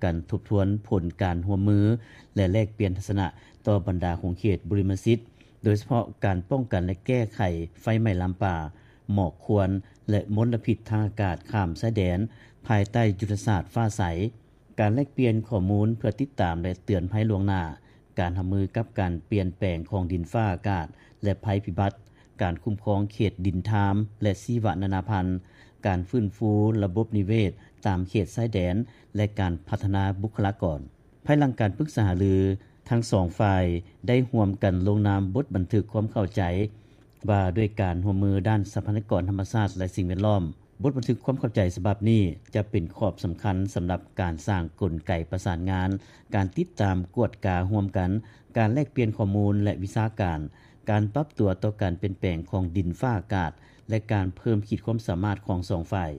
ກັນທົບທວນຜົນການຮ່ວມມື ແລະ ແລກປ່ຽນທັດສະນະຕໍ່ບັນດາຂົງເຂດບຸລິມະສິດ, ໂດຍສະເພາະການປ້ອງກັນ ແລະ ແກ້ໄຂໄຟໄໝ້ລາມປ່າ, ໝອກຄວັນ ແລະ ມົນລະພິດທາງອາກາດຂ້າມຊາຍແດນ ພາຍໃຕ້ຍຸດທະສາດຟ້າໃສ, ການແລກປ່ຽນຂໍ້ມູນເພື່ອຕິດຕາມ ແລະ ເຕືອນໄພລ່ວງໜ້າ, ການຮັບມືກັບການປ່ຽນແປງຂອງດິນຟ້າອາກາດ ແລະ ໄພພິບັດ, ການຄຸ້ມຄອງເຂດດິນທາມ ແລະ ຊີວະນານາພັນ, ການຟື້ນຟູລະບົບນິເວດຕາມເຂດຊາຍແດນ ແລະ ການພັດທະນາບຸກຄະລາກອນ. ພາຍຫຼັງການປຶກສາຫາລື, ທັງສອງຝ່າຍໄດ້ຮ່ວມກັນລົງນາມບົດບັນທຶກຄວາມເຂົ້າໃຈ ວ່າດ້ວຍການຮ່ວມມືດ້ານຊັບພະຍາກອນທຳມະຊາດ ແລະ ສິ່ງແວດລ້ອມ. ບົດບັນທຶກຄວາມເຂົ້າໃຈສະບັບນີ້ ຈະເປັນຂອບສຳຄັນສຳລັບການສ້າງກົນໄກປະສານງານ, ການຕິດຕາມກວດກາຮ່ວມກັນ, ການແລກປ່ຽນຂໍ້ມູນ ແລະ ວິຊາການ, ການປັບຕົວຕໍ່ການປ່ຽນແປງຂອງດິນຟ້າອາກາດ ແລະ ການເພີ່ມຂີດຄວາມສາມາດຂອງສອງຝ່າຍ.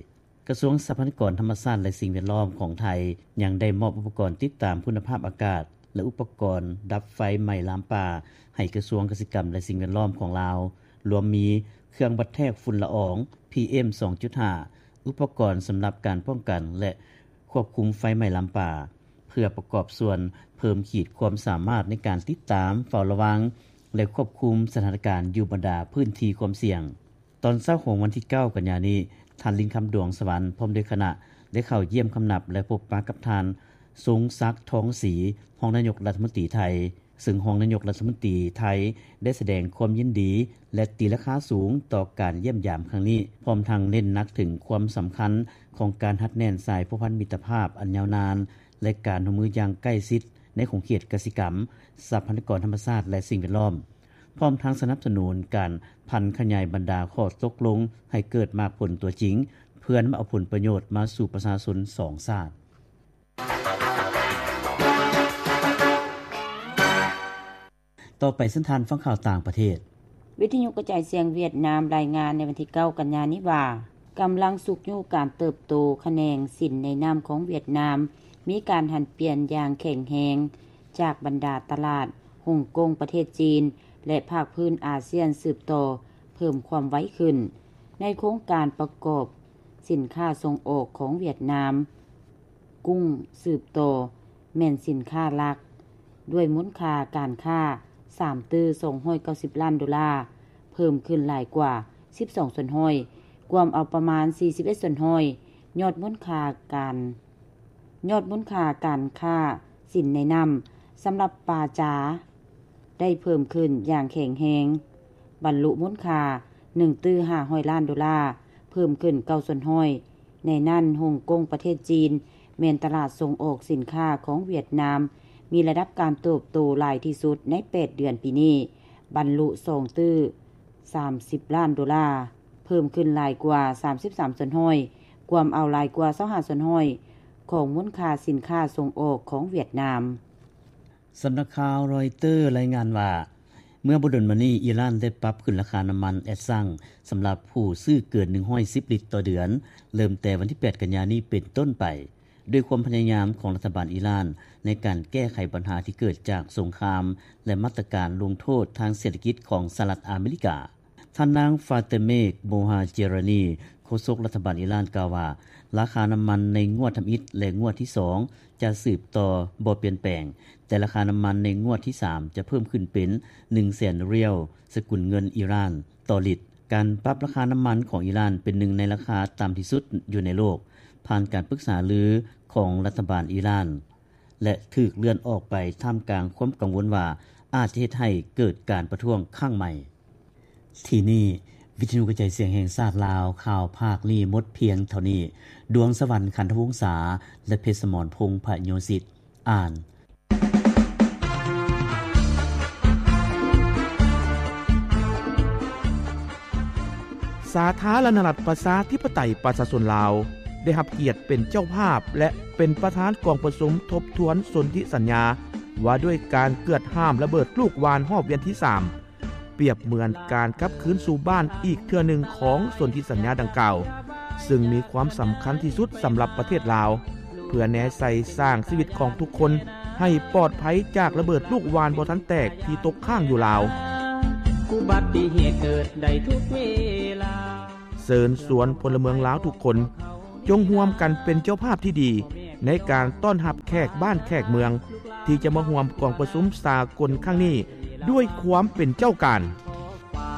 ກະຊວງຊັບພະຍາກອນທຳມະຊາດ ແລະ ສິ່ງແວດລ້ອມຂອງໄທ ຍັງໄດ້ມອບອຸປະກອນຕິດຕາມຄຸນນະພາບອາກາດ ແລະ ອຸປະກອນດັບໄຟໄໝ້ລາມປ່າ ໃຫ້ກະຊວງກະສິກຳ ແລະ ສິ່ງແວດລ້ອມຂອງລາວ, ລວມມີເຄື່ອງວັດແທກຝຸ່ນລະອອງ ພີເອັມ ສອງຈຸດຫ້າ, ອຸປະກອນສຳລັບການປ້ອງກັນ ແລະ ຄວບຄຸມໄຟໄໝ້ລາມປ່າ, ເພື່ອປະກອບສ່ວນເພີ່ມຂີດຄວາມສາມາດໃນການຕິດຕາມ, ເຝົ້າລະວັງ ແລະ ຄວບຄຸມສະຖານະການຢູ່ບັນດາພື້ນທີ່ຄວາມສ່ຽງ. ຕອນເຊົ້າຂອງວັນທີເກົ້າ ກັນຍານີ້, ທ່ານ ລິນຄຳ ດວງສະຫວັນ ພ້ອມດ້ວຍຄະນະ ໄດ້ເຂົ້າຢ້ຽມຄຳນັບ ແລະ ພົບປະກັບທ່ານ ຊົງສັກ ທອງສີ ຮອງນາຍົກລັດຖະມົນຕີໄທ, ເຊິ່ງຮອງນາຍົກລັດຖະມົນຕີໄທໄດ້ສະແດງຄວາມຍິນດີ ແລະ ຕີລາຄາສູງຕໍ່ການຢ້ຽມຢາມຄັ້ງນີ້, ພ້ອມທັງເນັ້ນໜັກເຖິງຄວາມສຳຄັນຂອງການຮັດແໜ້ນສາຍພົວພັນມິດຕະພາບອັນຍາວນານ ແລະ ການຮ່ວມມືຢ່າງໃກ້ຊິດໃນຂົງເຂດກະສິກຳ, ຊັບພະຍາກອນທຳມະຊາດ ແລະ ສິ່ງແວດລ້ອມ. ພ້ອມທັງສະໜັບສະໜູນການຜັນຂະຫຍາຍບັນດາຂໍ້ຕົກລົງໃຫ້ເກີດໝາກຜົນຕົວຈິງ, ເພື່ອນຳເອົາຜົນປະໂຫຍດມາສູ່ປະຊາຊົນສອງຊາດ. ຕໍ່ໄປເຊີນທ່ານຟັງຂ່າວຕ່າງປະເທດ. ວິທະຍຸກະຈາຍສຽງຫວຽດນາມລາຍງານໃນວັນທີເກົ້າ ກັນຍານີ້ວ່າ, ກຳລັງຊຸກຍູ້ການເຕີບໂຕຂະແໜງສິນໃນນ້ຳຂອງຫວຽດນາມ ມີການຫັນປ່ຽນຢ່າງແຂງແຮງ ຈາກບັນດາຕະຫຼາດຮົງກົງປະເທດຈີນ ແລະ ພາກພື້ນອາຊຽນສືບຕໍ່ເພີ່ມຄວາມໄວຂຶ້ນ. ໃນໂຄງການປະກອບສິນຄ້າສົ່ງອອກຂອງຫວຽດນາມ, ກຸ້ງສືບຕໍ່ແມ່ນສິນຄ້າຫຼັກ ດ້ວຍມູນຄ່າການຄ້າສາມຕື້ສອງຮ້ອຍເກົ້າສິບລ້ານໂດລາ, ເພີ່ມຂຶ້ນຫຼາຍກວ່າສິບສອງສ່ວນຮ້ອຍ, ກວມເອົາປະມານສີ່ສິບເອັດສ່ວນຮ້ອຍ. ຍອດມູນຄ່າການ ຍອດມູນຄ່າການຄ້າສິນໃນນ້ຳສຳລັບປາຈາ ໄດ້ເພີ່ມຂຶ້ນຢ່າງແຂງແຮງ, ບັນລຸມູນຄ່າໜຶ່ງຕື້ຫ້າຮ້ອຍລ້ານໂດລາ, ເພີ່ມຂຶ້ນເກົ້າສ່ວນຮ້ອຍ. ໃນນັ້ນ, ຮົງກົງປະເທດຈີນ ແມ່ນຕະຫຼາດສົ່ງອອກສິນຄ້າຂອງຫວຽດນາມ ມີລະດັບການເຕີບໂຕຫຼາຍທີ່ສຸດໃນແປດເດືອນປີນີ້, ບັນລຸສອງຕື້ສາມສິບລ້ານໂດລາ, ເພີ່ມຂຶ້ນຫຼາຍກວ່າສາມສິບສາມສ່ວນຮ້ອຍ, ກວມເອົາຫຼາຍກວ່າຊາວຫ້າສ່ວນຮ້ອຍຂອງມູນຄ່າສິນຄ້າສົ່ງອອກຂອງຫວຽດນາມ. ສຳນັກຂ່າວຣອຍເຕີລາຍງານວ່າ, ເມື່ອບໍ່ດົນມານີ້, ອີຣານໄດ້ປັບຂຶ້ນລາຄານ້ຳມັນແອັດຊັງສຳລັບຜູ້ຊື້ເກີນໜຶ່ງຮ້ອຍສິບລິດຕໍ່ເດືອນ, ເລີ່ມແຕ່ວັນທີແປດ ກັນຍານີ້ເປັນຕົ້ນໄປ, ດ້ວຍຄວາມພະຍາຍາມຂອງລັດຖະບານອີຣານໃນການແກ້ໄຂບັນຫາທີ່ເກີດຈາກສົງຄາມ ແລະ ມາດຕະການລົງໂທດທາງເສດຖະກິດຂອງສະຫະລັດອາເມລິກາ. ທ່ານນາງ ຟາເຕເມກ ໂມຮາເຈຣານີ ໂຄສົກລັດຖະບານອີຣານກ່າວວ່າ, ລາຄານ້ຳມັນໃນງວດທຳອິດ ແລະ ງວດທີສອງ ຈະສືບຕໍ່ບໍ່ປ່ຽນແປງ, ແຕ່ລາຄານ້ຳມັນໃນງວດທີສາມ ຈະເພີ່ມຂຶ້ນເປັນໜຶ່ງແສນຣຽວ ສະກຸນເງິນອີຣານຕໍ່ລິດ. ການປັບລາຄານ້ຳມັນຂອງອີຣານເປັນໜຶ່ງໃນລາຄາຕ່ຳທີ່ສຸດຢູ່ໃນໂລກ, ຜ່ານການປຶກສາລືຂອງລັດຖະບານອີຣານ ແລະ ຖືກເລື່ອນອອກໄປທ່າມກາງຄວາມກັງວົນວ່າ ອາດຈະເຮັດໃຫ້ເກີດການປະທ້ວງຄັ້ງໃໝ່. ທີ່ນີ້ ວິທະຍຸກະຈາຍສຽງແຫ່ງຊາດລາວ, ຂ່າວພາກນີ້ໝົດພຽງເທົ່ານີ້. ດວງສະຫວັນ ຂັນທະວົງສາ ແລະ ເພັດສະໝອນ ພົງພະໂຍສິດ ອ່ານ. ສາທາລະນະລັດ ປະຊາທິປະໄຕ ປະຊາຊົນລາວ ໄດ້ຮັບກຽດເປັນເຈົ້າພາບ ແລະ ເປັນປະທານກອງປະຊຸມທົບທວນສົນທິສັນຍາ ວ່າດ້ວຍການເກືອດຫ້າມລະເບີດລູກຫວ່ານຮອບວຽນທີສາມ ປຽບເໝືອນການກັບຄືນສູ່ບ້ານອີກເທື່ອໜຶ່ງຂອງສົນທິສັນຍາດັ່ງກ່າວ, ເຊິ່ງມີຄວາມສຳຄັນທີ່ສຸດສຳລັບປະເທດລາວ, ເພື່ອແນໃສ່ສ້າງຊີວິດຂອງທຸກຄົນໃຫ້ປອດໄພຈາກລະເບີດລູກຫວ່ານບໍ່ທັນແຕກທີ່ຕົກຄ້າງຢູ່ລາວ. ອຸບັດຕິເຫດເກີດໄດ້ທຸກເວລາ. ເຊີນຊວນພົນລະເມືອງລາວທຸກຄົນ ຈົ່ງຮ່ວມກັນເປັນເຈົ້າພາບທີ່ດີ ໃນການຕ້ອນຮັບແຂກບ້ານແຂກເມືອງ ທີ່ຈະມາຮ່ວມກອງປະຊຸມສາກົນຄັ້ງນີ້ ດ້ວຍຄວາມເປັນເຈົ້າການ.